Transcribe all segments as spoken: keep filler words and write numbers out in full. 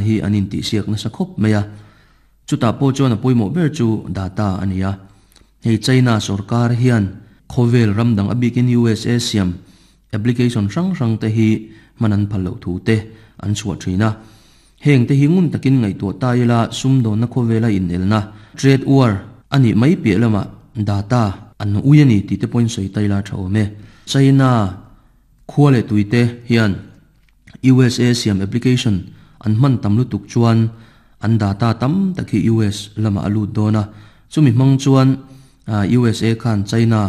Hi an in ti siak nasa khop meya chuta po chuan a poimo ber chu data ania hei China sarkar hian khovel ramdang abikin U S A siam application rang rang te hi manan phallo thu te an chhuah thina. Heng te hi ngun takin ngai to ta ila sumdo na khovela in elna trade war ani mai pi lama data an uyani ti te point soi taila thawme. China khuale tuite hian U S A siam application an man tamlu tuk chuan an data tam takhi U S lama alu dona. Chumi mang chuan U S A khan China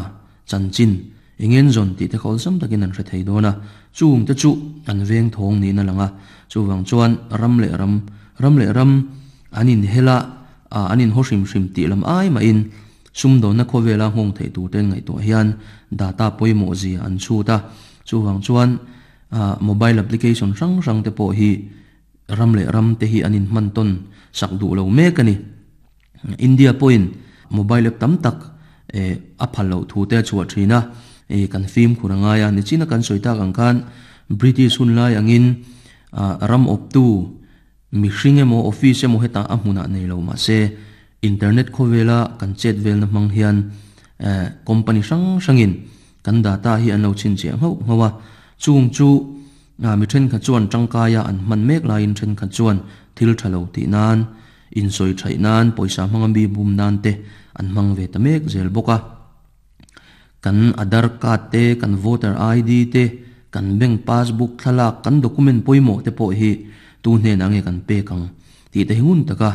chanchin engen zon ti te khol sam takin an hre thei dona. Chung te chu an veng thong ni na langa. Chuwang chuan ram le ram ram le ram anin hela anin hoshim hrim ti lam ai ma in sum do na khowela hong thei tu ten ngai to hian data poimo zi an chu ta. Chuwang chuan mobile application rang rang te po hi ram le ram te hi anin man ton sak du lo me kani. India point mobile app tam tak e a phalo thu te chua thina e kan film khuranga ya ni china kan soita kang khan British hun lai angin ram op tu mi hring emo office emo heta a hmuna nei lo ma se internet khowela kan chat vel na mang hian company sang sangin kan data hi an lo chin che ngau ngawa. Chung chu mi then kha chuan tangkaya an man mek la in then kha chuan thil thalo ti nan in soi thai nan poisa mangam bi bum nan te an mang ve ta mek zel boka. Kan Aadhaar card te, kan voter I D te, kan bank passbook thlala, kan document poimo te po hi tu hne na nge kan pe kang ti te hingun taka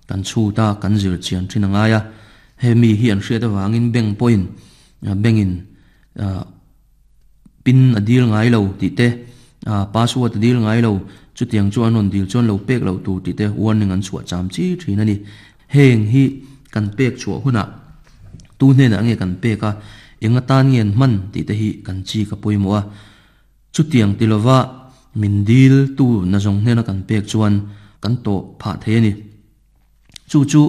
kan chu ta kan zir chian thin anga ya. He mi hi an hriat awangin bank point bangin pin adil ngai lo ti te, password dil ngai lo, chu tiang chu anon dil chon lo pek lo tu ti te warning an chua cham chi thin ani. Heng hi kan pek chua huna tu hne na nge kan peka enga tan ngen man ti te hi kan chi ka poimo a. Chu tiang tilova min dil tu na jong hne na kan pek chuan kan to pha the ni. Chu chu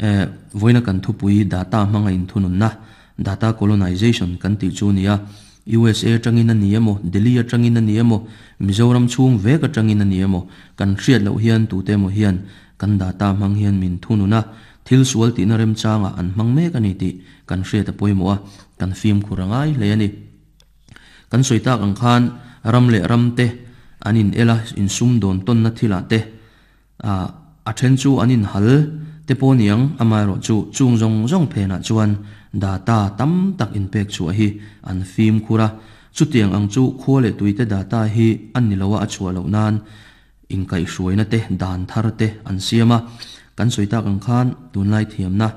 eh voina kan thupui data manga in thunun na data colonization kan ti chu nia. U S A tangin ani emo, Delhi atangin ani emo, Mizoram chung vek atangin ani emo, kan hriat lo hian tu te mo hian kan data mang hian min thununa thil sual ti na rem changa an mang mek ani ti kan hriat a poimo a kan film khurangai le ani. Kan soita ang khan ram le ram te anin ela in sum don ton na thila te a a then chu anin hal te poniang amai ro chu chung zong zong phena chuan data tam tak in pek chu hi an film khura. Chutiang ang chu khole tuite data hi an nilowa a chua lo nan in kai hruaina te dan thar te an siama. Kan soita kang khan tunlai thiam na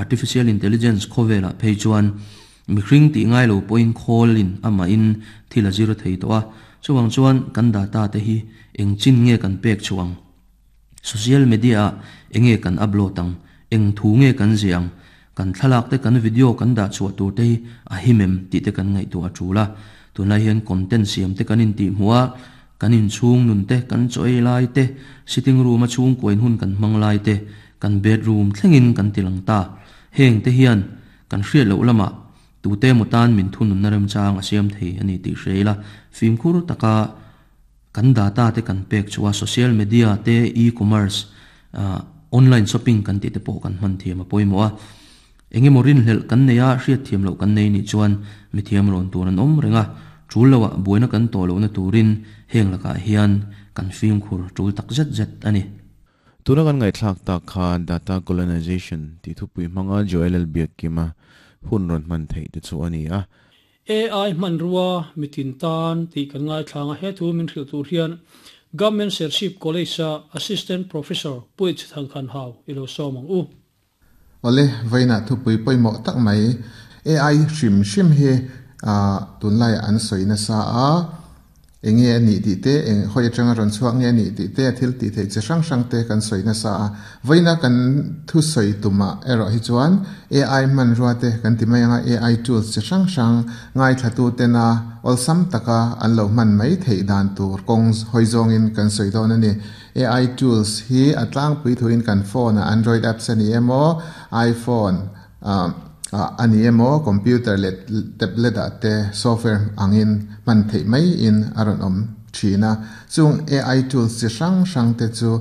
artificial intelligence khowela phei chuan mihring ti ngai lo point call in ama in thila zero thei to a. Chuwang chuan kan data te hi eng chin nge kan pek chuang, social media enge kan upload ang, eng thu nge kan ziang, kan thlalak te kan video kan da chua tur te a himem ti te kan ngai tu a thula. Tunlai hian content siam te kan in ti hmuwa kan in chung nun te, kan choi lai te, sitting room a chung koin hun kan mang lai te, kan bedroom thlengin kan tilang ta. Heng te hian kan hriat lo lama tu te mutan min thunun na rem chang a siam thei ani ti hreila. Fimkhur taka kan data te kan pek chuwa social media te, e-commerce, online shopping kan ti te pawh kan hman thiam a pawimawh a. Enge morin hlel kan neia hriat thiam lo kan nei ni chuan mi thiam rawn tur an awm renga tul lowa buaina kan to lo na turin heng laka hian kan fimkhur tul tak zet zet ani. Tuna kan ngai thlak ta kha data colonization ti thupui hmanga Joel L Biak kima hun ron man thei te chu ani a. A I man ruwa mitin tan ti kan ngai thlanga. He thu min hril tur hian Government Serchhip College a Assistant Professor Puich Thang Khan Hau ilo somang u. Ole vaina thu pui poi mo tak mai A I hrim hrim hi a tunlai an soina sa a enge ani ti te, eng hoi atanga ron chuak nge ani ti te, thil ti thei che hrang hrang te kan soina sa a. Vaina kan thu soi tuma ero hi chuan A I man ruwa te kan ti mai anga A I tools che hrang hrang ngai thatu te na olsam taka an lo man mai thei dan tur kong hoi zong in kan soi don ani. A I tools hi atlang pui thuin kan phone a Android apps ani emo, iPhone ani emo, computer le tablet a te software angin man thei mai in aron om thina. Chung A I tools chi hrang hrang te chu